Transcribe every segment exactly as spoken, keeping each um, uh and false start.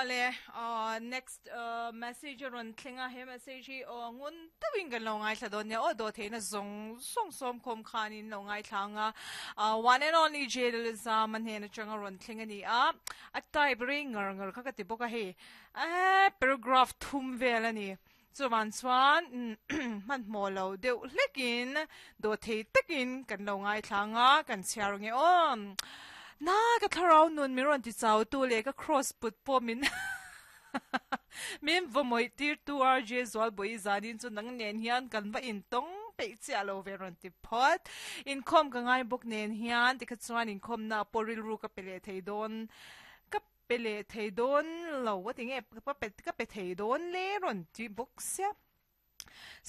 Ole, uh, next uh, message ron thlenga he message hi o ngun tawin kan lo ngai thla don ne o do theina zong song som khom khanin lo ngai thlanga uh, one and only jail zaman he na changa ron thlenga ni a a type ring ngar ngar kha ka ti boka he a paragraph thum vel ani chuan chuan man mo lo deuh hlekin do thei takin kan lo ngai thlanga kan chhiar nge om na ka tharau nun mi ron ti chau tu le ka cross put po min min vomoi tir tu R J zwal boi zanin chu nang nen hian kan va in tong pe chi alo ve ron ti phot in khom ka ngai bok nen hian ti kha chuan in khom na poril ru ka pele thei don ka pele thei don lo wa ti nge ka pe ka pe thei don le ron ti bok sia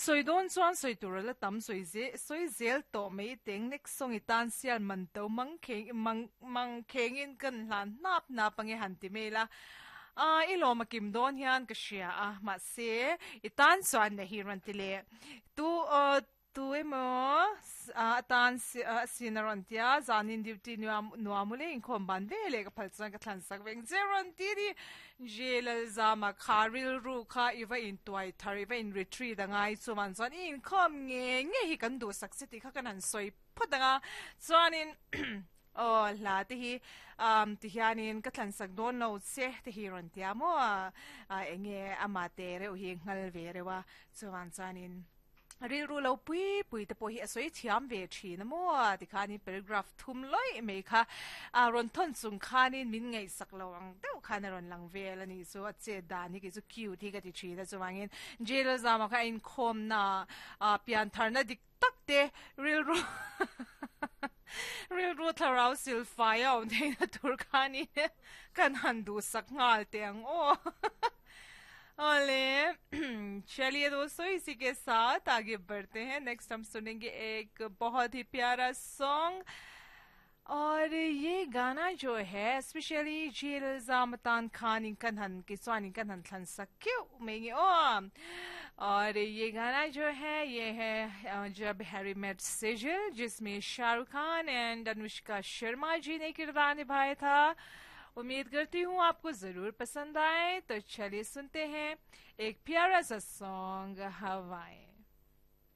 soi don chuan soi tur la tam soi ze soi zel to mei teng nek song itan sial man to mang kheng mang mang khengin kan hlan nap na pange han ti mela a i lo makim don hian ka hria a ma se itan chuan na hi ran ti le tu tu emo a tan sinaron tia zanin duty nuam nuamule in khom ban ve le ka phal chuan ka thlan sak veng zeron ti di jelal zama kharil ru kha iwa in tuai thar iwa in retreat angai chuman chuan in khom nge nge hi kan du sak ti kha kan han soi photanga chuanin oh la te hi um ti hianin ka thlan sak don lo che te hi ron tia mo a enge ama te re hi ngal ve rewa chuan chuanin ril ru lo pui pui te po hi asoi thiam ve thina mo ti khani paragraph thum loi me kha a ron thon chung khanin min ngei sak lo ang deuh khan ron lang vel ani so a che dan hi ki chu cute hi ka ti thina chuwangin jail zama kha in khom na a pian tharna dik tak te ril ru ril ru tharau sil fai a nei na tur khani kan han du sak ngal te ang o. ओले, चलिए दोस्तों, इसी के साथ आगे बढ़ते हैं। नेक्स्ट हम सुनेंगे एक बहुत ही प्यारा सॉन्ग और ये गाना जो है स्पेशली जेल जामतान खान इनकन हन के स्वान इनकन हन थन सक्यो मेंगे ओ। और ये गाना जो है, ये है जब हैरी मेट सेजल, जिसमें शाहरुख खान एंड अनुष्का शर्मा जी ने किरदार निभाया था। उम्मीद करती हूँ आपको जरूर पसंद आए। तो चलिए सुनते हैं एक प्यारा सा सॉन्ग, हवाएं।